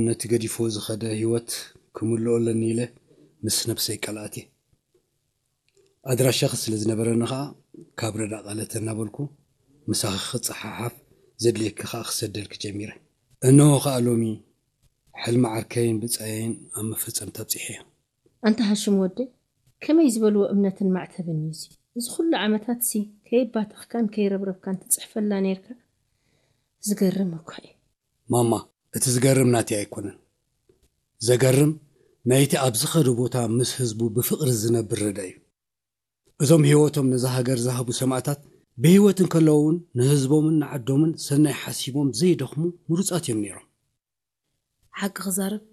ነቲ ገዲፎ ዝኸደ ህይወት ክምልኦ ኣለኒ ኢለ ምስ ነብሰይ ቃል ኣትየ። ኣድራሻኺ ስለ ዝነበረኒ ኸኣ ካብ ረዳ ቃለተ እናበልኩ ምሳኺ ክጸሓሓፍ ዘድልየኪ ኸኣ ክሰደልኪ ጀሚረ። እነሆ ኸኣ ሎሚ ሕልሚ ዓርከይን ብጻየይን ኣብ መፈጸምታ ኣብጺሐዮ። ኣንታ ሃሽም ወደይ፣ ከመይ ዝበልዎ እምነትን ማዕተብን እዩ እዚ? እዚ ኩሉ ዓመታትሲ ከየባተኽካን ከይረብረብካን ትጽሕፈላ ነይርካ? ዝገርም እኳ እዩ። ማማ፣ እቲ ዝገርም ናተይ ኣይኮነን። ዘገርም ናይቲ ኣብ ዝኸዶ ቦታ ምስ ህዝቡ ብፍቕሪ ዝነብር ረዳ እዩ። እዞም ህይወቶም ነዛ ሃገር ዝሃቡ ሰማእታት ብህይወት እንከለዉ እውን ንህዝቦምን ንዓዶምን ሰናይ ሓሲቦም ዘይደኽሙ ምሩጻት እዮም ነይሮም። ሓቂ ክዛረብ፣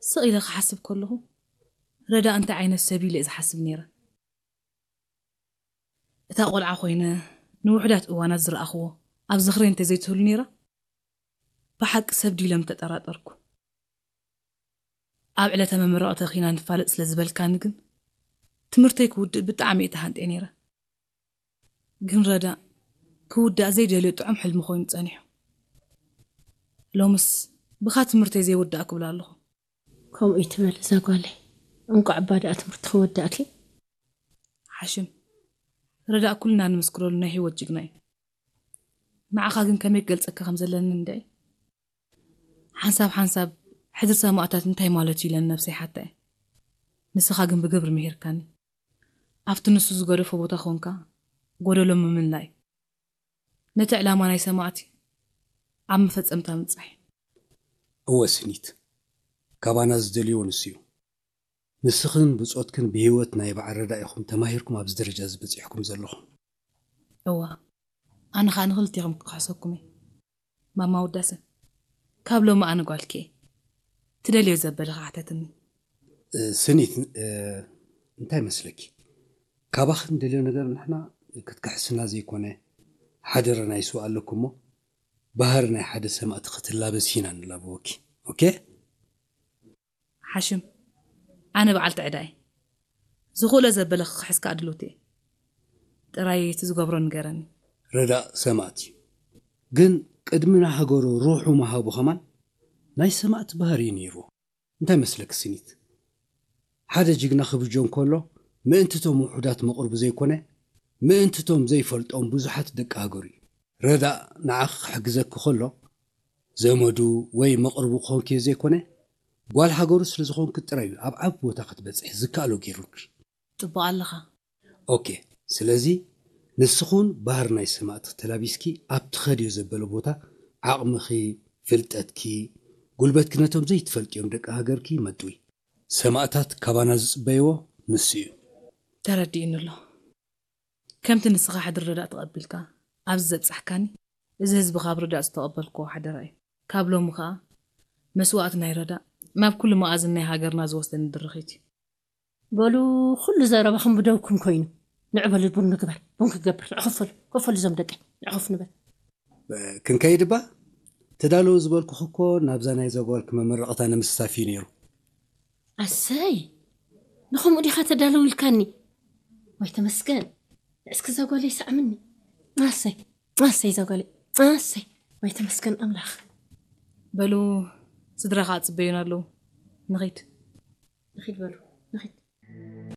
ስቕ ኢለ ክሓስብ ከለኹ፣ ረዳ እንታይ ዓይነት ሰብ ኢለ እየ ዝሓስብ ነይረ። እታ ቆልዓ ኮይነ ንውሑዳት እዋናት ዝረኣኽዎ ኣብ ዝኽረይ እንተዘይትህሉ ነይራ፣ ብሓቂ ሰብ ድዩ ኢለ ምተጠራጠርኩ። ኣብ ዕለተ መመረቕተኺ ኢና ንፋለጥ ስለ ዝበልካኒ ግን፣ ትምህርተይ ክውድእ ብጣዕሚ እየ ተሃንጥየ ነይረ። ግን ረዳ ክውዳእ ዘይደልዮ ጥዑም ሕልሚ ኮይኑ ጸኒሑ። ሎምስ ብኻ ትምህርተይ ዘይወዳእ ክብል ኣለኹ። ከምኡ ይትበል እዛ ጓለይ። እንቋዕ እባ ደኣ ትምህርትኺ ወዳእኪ። ሓሽም፣ ረዳ ኩልና ንምስክረሉ ናይ ህይወት ጅግና እዩ። ንዓኻ ግን ከመይ ክገልጸካ ከም ዘለኒ እንድዒ። ሓንሳብ ሓንሳብ ሕድሪ ሰማእታት እንታይ ማለት እዩ ኢለ ንነብሰይ ሓታ እየ። ንስኻ ግን ብግብሪ ምሂርካኒ። ኣብቲ ንሱ ዝገደፎ ቦታ ኮንካ ጎደሎ ምምላእ እዩ። ነቲ ዕላማ ናይ ሰማእቲ ኣብ መፈጸምታ ምብጻሕ እዩ። እወ ስኒት፣ ካባና ዝደልይዎ ንሱ እዩ። ንስኽን ብጾትክን ብህይወት ናይ በዓል ረዳ ኢኹም ተማሂርኩም ኣብዚ ደረጃ እዚ በጺሕኩም ዘለኹም። እወ፣ ኣነ ኸኣ ንኽልቴኹም ክኽሕሰኩም እየ። ማማ ውዳሰ፣ ካብ ሎሚ ኣነ ጓልኪ እየ። ትደልዮ ዘበለ ኸዓ ሕተትኒ። እ፣ ስኒት፣ እ፣ እንታይ መስለኪ? ካባኺ ንደልዮ ነገር ንሕና ክትክሕስና ዘይኮነ፣ ሓደራ ናይ ስዋ ኣለኩ እሞ፣ ባህሪ ናይ ሓደ ሰማእቲ ክትላበሲ ኢና ንላበወኪ። ኦኬ? ሓሽም፣ ኣነ በዓልቲ ዕዳ እየ። ዝኽእሎ ዘበለ ክኽሕስ ከኣ ድልውቲ እየ። ጥራይ እቲ ዝገብሮ ንገረኒ። ረዳእ ሰማእት እዩ። ግን ቅድሚ ንሃገሩ ሩሑ ምሃቡ ኸማን ናይ ሰማእት ባህሪ እዩ ነይርዎ። እንታይ መስለኪ ስኒት? ሓደ ጅግና ክብጆ እንከሎ ምእንቲ እቶም ውሑዳት መቕርቡ ዘይኮነ፣ ምእንቲ እቶም ዘይፈልጦም ብዙሓት ደቂ ሃገሩ እዩ። ረዳእ ንዓኺ ክሕግዘኪ ከሎ ዘመዱ ወይ መቕርቡ ክኾንኪ ዘይኮነ፣ ጓል ሃገሩ ስለ ዝኾንኪ ጥራይ እዩ ኣብ ዓቢ ቦታ ክትበጽሒ ዝከኣሎ ገይሩልኪ። ጽቡቕ ኣለኻ። ኦኬ፣ ስለዚ ንስኹን ባህር ናይ ሰማእቲ ተላቢስኪ ኣብ ትኸድዮ ዘበለ ቦታ ዓቕምኺ፣ ፍልጠትኪ፣ ጉልበትኪ ነቶም ዘይትፈልጥዮም ደቂ ሃገርኪ መጥዊ። ሰማእታት ካባና ዝጽበይዎ ንሱ እዩ። ተረዲእኒ ኣሎ። ከምቲ ንስኻ ሕድሪ ረዳእ ተቐቢልካ ኣብዚ ዘብጻሕካኒ፣ እዚ ህዝቢ ካብ ረዳእ ዝተቐበልክዎ ሓደራ እዩ። ካብ ሎሚ ኸኣ መስዋእቲ ናይ ረዳእ ናብ ኩሉ መኣዝን ናይ ሃገርና ዝወስደኒ ድርኺት እዩ። በሉ፣ ኩሉ ዘረባኹም ብደውኩም ኮይኑ። ንዑ በሉ ቡን ንግበር፣ ቡን ክገብር። ንዑ ኮፍ በሉ፣ ኮፍ በሉ እዞም ደቀይ፣ ንዑ ኮፍ ንበል። ክንከይድ እባ? ተዳለዉ ዝበልኩኺ እኮ ናብዛ ናይዛ ጓልኪ መመረቕታ ንምስታፍ እዩ ነይሩ። ኣሰይ፣ ንኸምኡ ዲኻ ተዳለዉ ኢልካኒ? ዋይ ተመስገን፣ እስኪ እዛ ጓለይ ሰዓምኒ። ኣሰይ፣ ኣሰይ እዛ ጓለይ፣ ኣሰይ፣ ዋይ ተመስገን ኣምላኽ። በሉ፣ ስድራ ኸዓ ጽበዩና ኣለዉ። ንኺድ። ንኺድ በሉ፣ ንኺድ።